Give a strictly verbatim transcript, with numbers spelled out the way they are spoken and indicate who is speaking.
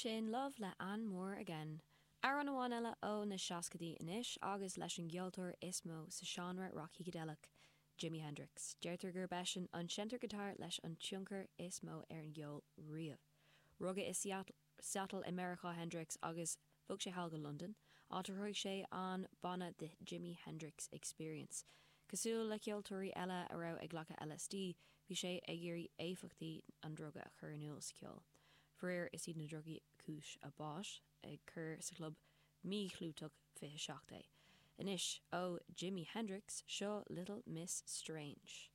Speaker 1: Sin Love le Ann Moore again. Amhrán amháin eile ó na seascaidí anois agus leis an gceoltóir is mó sa seánra rock shícideileach, Jimi Hendrix. Deirtear gurb eisean an seinnteoir giotár leis an tionchar is mó ar an gceol riamh. Rugadh i Seattle, Seattle i Meiriceá Hendrix agus bhog sé thall go London, áit ar thóg sé an banna The Jimi Hendrix Experience. Cosúil le ceoltóirí eile a raibh ag glacadh LSD, bhí sé ag iarraidh éifeachtaí an druga a chur in iúl sa cheol. Faraor is iad na drugaí cúis a bháis ag cur sa chlub míchlúiteach fiche seacht é. Anois ó Jimi Hendrix seo Little Miss Strange.